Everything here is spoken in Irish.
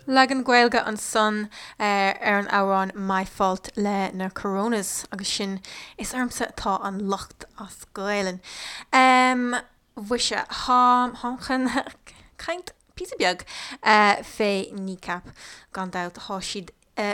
Leagan Gaeilge ansan ar an amhrán My Fault le na Coronas agus sin Is ormsa atá an locht as Gaelainn. Mhuise, táim chun caint píosa beag fé Kneecap. Gan dabht, tá siad.